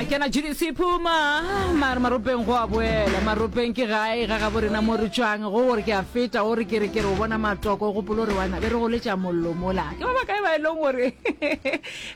Kena GDC Puma mare maropeng go a boela maropeng ke gae ga gabo rena mo re tšwang go gore ke a feta o re ke re ke re o bona matoko o gopolo gore wana be re goletša mollo mola ke ba bakae ba e leng gore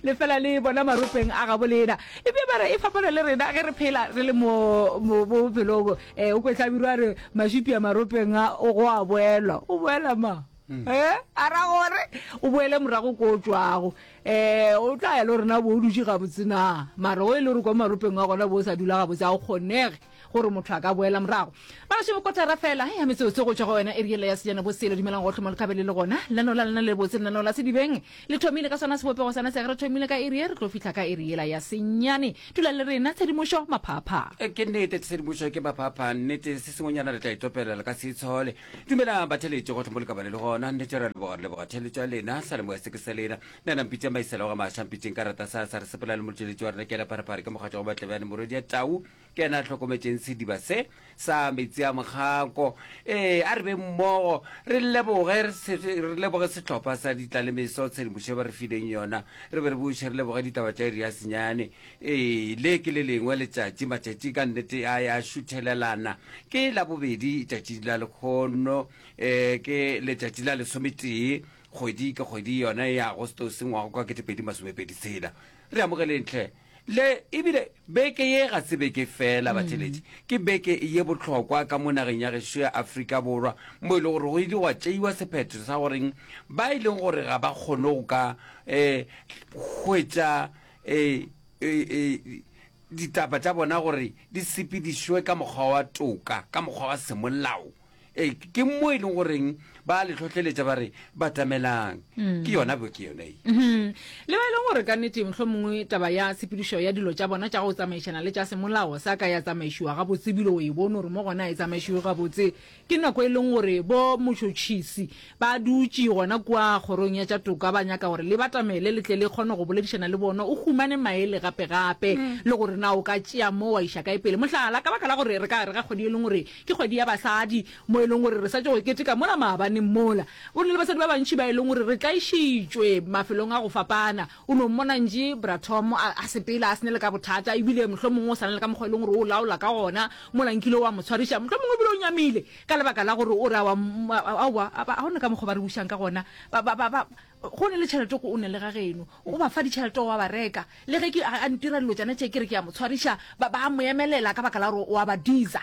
le fela le bona maropeng a gabo lena ebile ba re e fapana le rena ge re phela re le mo mo bophelong um o kwetlabirwa re mašupi a maropeng a go a boelwa o boela ma um a ra gore o boele morago ko o tšwago Ee, o tla ya le gore na bo o dutše gabotse na. Mara o e le gore kwa maropeng a gona bo o sa dula gabotse, ga go kgonege gore motho a ka boela morago. Bagašo kotara fela ya metsotso go tšwa go yona iri yela ya sejana bo selo. Dumelang gohle mo le ka be le le gona. Lenaneo la lena le botse, lenaneo la Sedibeng le thomile ka sona sebopego sona se. Ge re thomile ka iri ye, re tlo fihla ka iri yela ya senyane. Dulang le rena, tshedimošo maphaaphaa. Ke nnete, tshedimošo ke maphaaphaa. Nnete, se sengwenyana re tla itopela, le ka se itshole. Dumelang batheletši gohle mo le ka ba le le gona. Nnete re a leboga, re leboga theletšo ya lena. Salemoya se ke sa lena. Nna na mpitša Maisela wa ga Maša, mpitšeng ka rata sa sa re sepela le motšweletši wa rena ke yena Pharephare ke mogatša wa Matlebjane morwedi ya Tau. Ke yena a hlokometšeng sediba se sa metsi a mokgako. Ee, a re be mmogo re leboge re se re leboge sehlopha sa ditlalemeso tshedimošo ba re fileng yona. Re be re buše re leboge ditaba tša iri ya senyane. Ee, le ke le lengwe letšatši, matšatši ka nnete a ya šuthelelana. Ke Labobedi, tšatši la lekgono, eh, ke letšatši la lesometee, kgwedi ke kgwedi yona ya Agostose ngwaga kwa 2026 tshela. Re amogeleng hle. Le ebile beke ye ga se beke fela, batheletši. Ke beke ye bohlokwa ka mo nageng ya gešo ya Afrika Borwa, mo e le gore go ile gwa tšeiwa sephetho sa goreng ba e leng gore ga ba kgone go ka eh, hwetša e, e, e, ditaba tša bona gore di sepedišwe ka mokgwa wa toka, ka mokgwa wa semolao. E, ke mo e leng goreng ba le hlohleletša ba re batamelang. Mm. Ke yona beke yona e. Mm -hmm. Le ba e leng gore ka nnete mohlomongwe taba ya tshepedišo ya dilo tša bona tša go tsamaišana le tša semolao sa ka ya tsamaišiwa gabotse ebile o e bone gore mo gona e tsamaišiwe gabotse Ke nako e leng gore bo motšhotšhisi ba dutše gona kua kgorong ya tša toka ba nyaka gore le batamele le tle le kgone go boledišana le bona, o humane maele gape-gape le gore na o ka tšea mo wa iša kae pele. Mohlala, ka baka la gore re ka gare ga kgwedi e leng gore ke kgwedi ya basadi, mo e leng gore re sa tšo go keteka mola maabaneng mola, go na le basadi ba bantši ba e leng gore re tlaišitšwe mafelong a go fapana. O no mmona ntše Bra Tom a, a sepela a se ne le ka bothata, ebile mohlomongwe o sa na le ka mokgwa e leng gore o laola ka gona, mola nkile wa mo tshwariša, mohlomongwe ebile o nyamile ka lebaka la gore o re aowa, aowa, ga go na ka mokgwa ba re bušang ka gona, ba, ba, ba, ba, go ne le tšhelete o ne le ga geno, o ba fa ditšhelete o a ba reka, le ge ke, a, a ntira dilo tšana tše ke re ke a mo tshwariša, ba, ba a mo emelela ka baka la gore o a ba diza.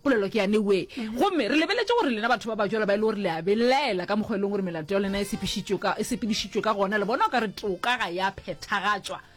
Polelo ke ya Newe. Gomme re lebeletše gore lena batho ba bajwalo ba e le gore le a belaela ka mokgwa e leng gore melato ya lena e sepišitšwe ka, e sepedišitšwe ka gona, le bona o ka re toka ga ya phethagatšwa.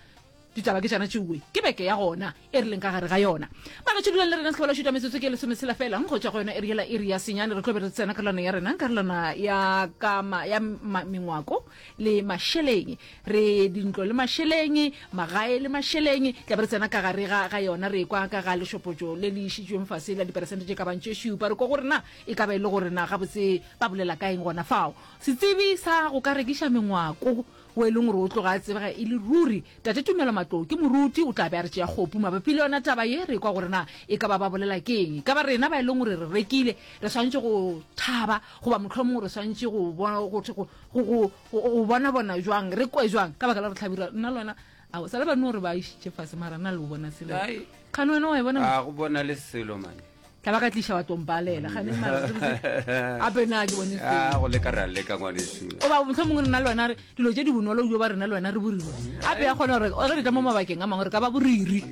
Ditaba ke tšana tšeoe. Ke beke ya gona e re leng ka gare ga yona. Bagetšo dulang le rena sehlabela šuta metsotso ke lesometshela fela go tšwa go yona iri yela iri ya senyane re tlo be re tsena karolwana ya rena karolwana ya ka ma, ya ma, mengwako le mašeleng Re dintlo le mašeleng, magae le mašeleng. Tla be re tsena ka gare ga, ga yona, re ekwa ka ga lešopotšo le le išitšweng fase la diperesente tše ka bang tše šupa. Re kwa gore na e ka ba e le gore na gabotse ba bolela ka eng gona fao. Setsebi sa go ka rekiša mengwako wo e leng gore o tloga a tsebega e le ruri, Tate Tumelo Matlou ke moruti, o tla be a re tšea kgopu mabapi le yona taba ye. Re kwa gore na e ka ba ba bolela ke eng. E ka ba rena ba e leng gore re rekile re swanetše go thaba goba mohlomongwe re swanetše go, go, go, go, go, Go bona bona jwang, re kwe jwang, ka baka la gore Hlabirwa, nna le wena, ao, sa le ba no re ba išitše fase, mara nna le o bona selo. Ai. Kgane wena wa e bona? A go bona le selo man. Tla ba ka tliša wa tlo mpalela, kgane mara, ape na ke bone selo. A go leka re a leka ngwanešu. O ba mohlomongwe nna le wena re dilo tše di bonolo jo ba rena le wena re boriri. Ape ya kgona gore ge re tla mo mabakeng a mangwe re ka ba boriri.